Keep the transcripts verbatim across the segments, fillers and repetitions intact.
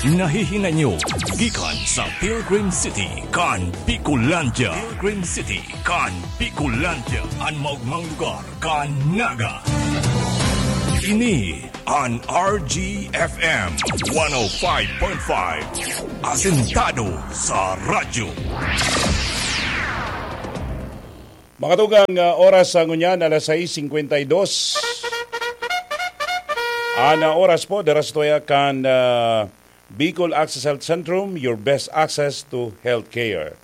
Nahihinanyo gikan sa Pilgrim City kan Bicolandia. Pilgrim City kan Bicolandia, an maogmang lugar kan Naga. Ini an R G F M one oh five point five, asentado sa radyo. Mga tugang, ah, oras sa ngunyan, alas sais singkwenta y dos. An, ah, oras po, dara sa tuya kan, ah, Bicol Access Health Centrum, your best access to healthcare.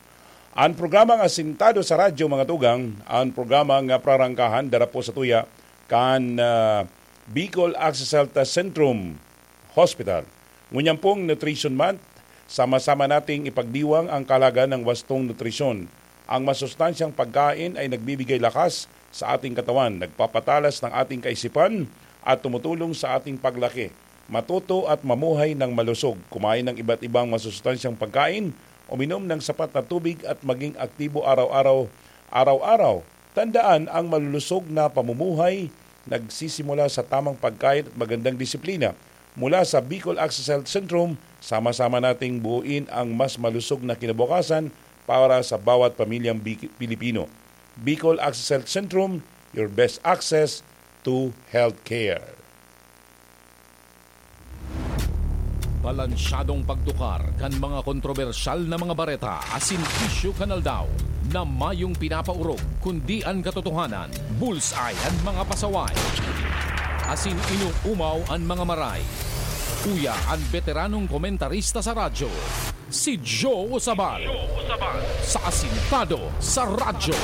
An programa nga Asentado sa Radyo, mga tugang, an programa nga prarangkahan, dara po sa tuya kan, ah, Bicol Access Health Centrum Hospital. Ngunyan pong Nutrition Month, sama-sama nating ipagdiwang ang kahalagahan ng wastong nutrisyon. Ang masustansyang pagkain ay nagbibigay lakas sa ating katawan, nagpapatalas ng ating kaisipan at tumutulong sa ating paglaki. Matuto at mamuhay ng malusog, kumain ng iba't ibang masustansyang pagkain, uminom ng sapat na tubig at maging aktibo araw-araw, araw-araw. Tandaan, ang malulusog na pamumuhay nagsisimula sa tamang pagkain at magandang disiplina. Mula sa Bicol Access Health Centrum, sama-sama nating buuin ang mas malusog na kinabukasan para sa bawat pamilyang Bi-, Pilipino. Bicol Access Health Centrum, your best access to healthcare. Balansyadong pagtukar kan mga kontrobersyal na mga bareta asin isyu kan aldaw na mayong pinapaorog, kundi an katotohanan, bullseye an mga pasaway, asin inuumaw an mga maray. Uya an beteranong komentarista sa radyo, si Joe Usabal, sa Asintado sa Radyo.